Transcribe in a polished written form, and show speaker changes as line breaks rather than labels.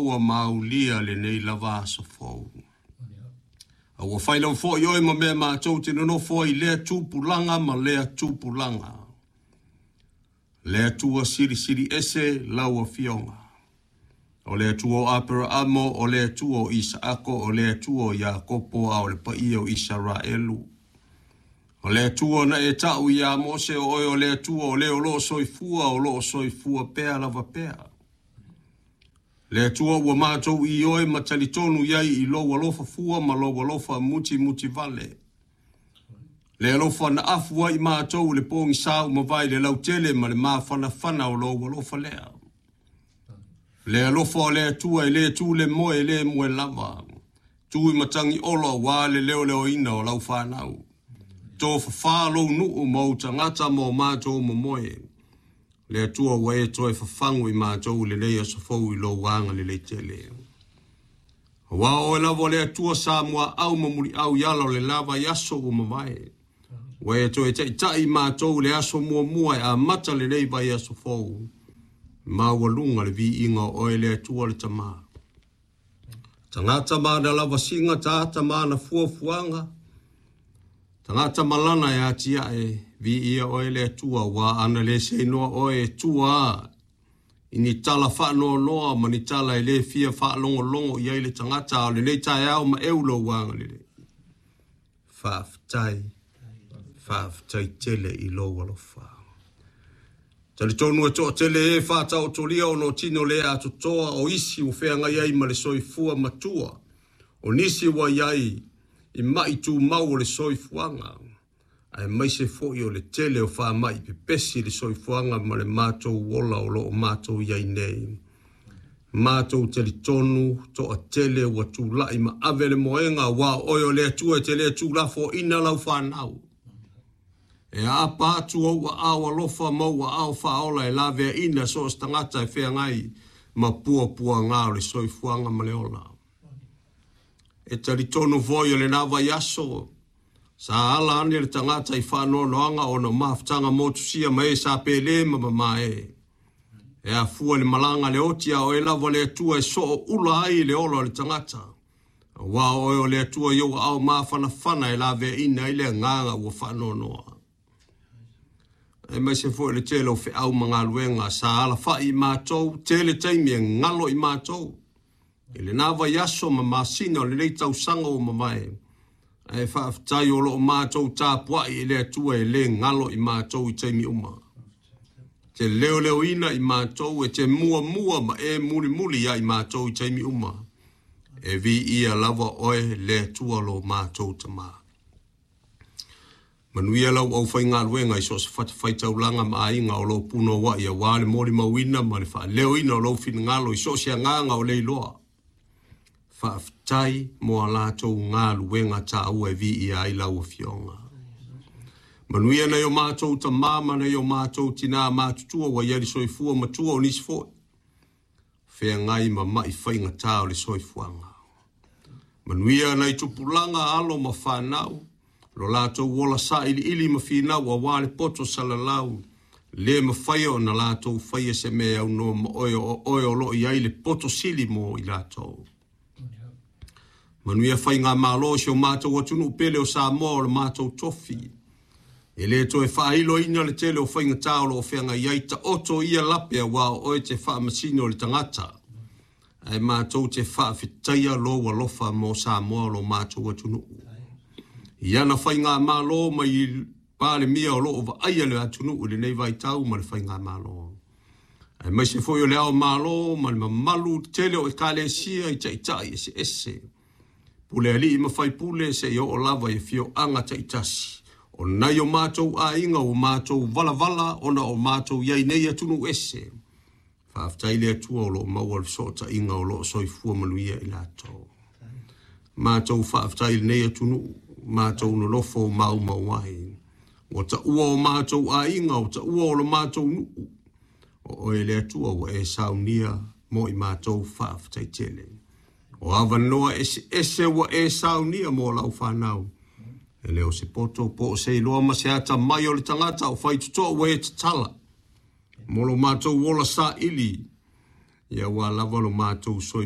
maua ma aulia lenei lava aso fou. A ua fai lava foi oe ma mea matou te nonofo ai i lea tupulaga ma lea tupulaga. Le Atua Silisili Ese lau Afioga. O le Atua o Aperaamo, o le Atua o Isaako, o le Atua o Iakopo, a o le paia o Isaraelu. O le Atua na e ta'u iā Mose, o oe o le Atua o le o lo o soifua, o lo o soifua pea lava pea. Le Atua ua matou ioe ma talitonu i ai i lou alofa fua ma lou alofa mutimutivale. Le alofa na afu ai matou i le pogisa ua mavae i le lautele ma le mafanafana o lou alofa lea. Le alofa o le Atua e le tu le moe e le moe lava. Tu i matagi olo auā le leoleoina o lau fanau. Tofafā lou nuu ma ou tagata ma o matou momoe. Le Atua ua e toe fafagu i matou i lenei aso fou i lou agalelei tele. Aua o oe lava o le Atua sa muaau ma muliau i ala o le la vaiaso ua mavae. Ua e toe taitai i matou i le aso muamua e amata lenei vaiaso fou. Maualuga le viiga o oe le Atua le Tama. Tagata ma ana lavasiga, tagata ma ana fuafuaga, tagata ma lana e atiae, viia oe le Atua, aua ana le seinoa oe e tua i ni tala faanoanoa ma ni tala e le fia faalogologo i ai le tagata, a o lenei taeao ma eu lou agalelei. Faafetai, faafetai tele i lou alofa. Talitonu e toatele e faataotolia ona o tino le atotoa o isi ua feagai ai ma le soifua matua, o nisi ua i ai i ma'i tumau o le soifuaga, aemaise foi o le tele o faamai pepesi i le soifuaga ma le matou ola o lo o matou i ai nei. Matou talitonu toatele ua tulai ma ave le moega aua o oe o le Atua e te le tuulafoaina lau fanau. E aapa atu ou aao alofa ma ou aao faaola e laveaina so o se tagata e feagai ma puapuaga o le soifuaga ma le ola. E talitonu foi o lena vaiaso sa ala ane le tagata i faanoanoaga ona o mafutaga motusia ma e sa pele ma mamae. E afua i le malaga a le oti a o oe lava le Atua e sooula ai le ola o le tagata. Aua o oe o le Atua i ou aao mafanafana e laveaina ai le agaga ua faanoanoa. Aemaise foi o le tele o feau ma galuega sa alafai i matou, tele taimi e galo i matou i lena vaiaso ma masina o lenei tausaga ua mavae. Ae faafetai o lo o matou tapuai i le Atua e le galo i matou i taimi uma. Te leoleoina i matou, e te muamua ma e mulimuli ia i matou i taimi uma. E viia lava oe le Atua lo matou Tama. Manuia lau aufaigaluega i so o se fatafaitaulaga ma aiga o lo o punouai aua le molimauina ma le faaleoina o lou finagalo i so o se agaga o le iloa. Faafetai mo a latou galuega taua e viia ai lau Afioga. Manuia nai o matou tama ma nai o matou tinā matutua ua i ai le soifua matua o nisi foi feagai ma ma'i faigata o le soifuaga. Manuia nai tupulaga, alo ma fanau, lo latou ola sailiili ma finau aua le poto salalau, le mafai ona latou faia se mea e aunoa ma oe, o oe o lo o i ai le poto sili mo i latou. Manuia faigamalo o si o matou atunuu pele o Samoa o le matou tofi. E le toe faailoina le tele o faigata o lo o feagai ai, taoto ia lape aua o oe te faamasino i le tagata. Ae matou te faafetaia lou alofa mo Samoa o lo matou atunuu. I ana faigamalo mai i Palemia o lo o vaaia le atunuu i lenei vaitau ma le faigamalo. Aemaise foi o le Ao Malo ma le mamalu tele o Ekalesia i taitai eseese, pule alii ma faipule seia oo lava i afioaga taitasi o nai o matou aiga ua matou valavala ona o matou i ai nei i atunuu ese. Faafetai i le Atua o lo o maua le fesootaiga o lo o soifua manuia i latou. Matou faafetai i lenei atunuu, matou nonofo maumau ai. Ua taua o matou aiga, ua taua o lo matou nuu. O oe le Atua ua e saunia mo i matou faafetai tele. O avanoa eseese ua e saunia mo lau fanau. E le o se poto po o se iloa ma se atamai o le tagata o faitotoa ua e tatala. Mo lo matou ola saili, ia aua lava lo matou soifua.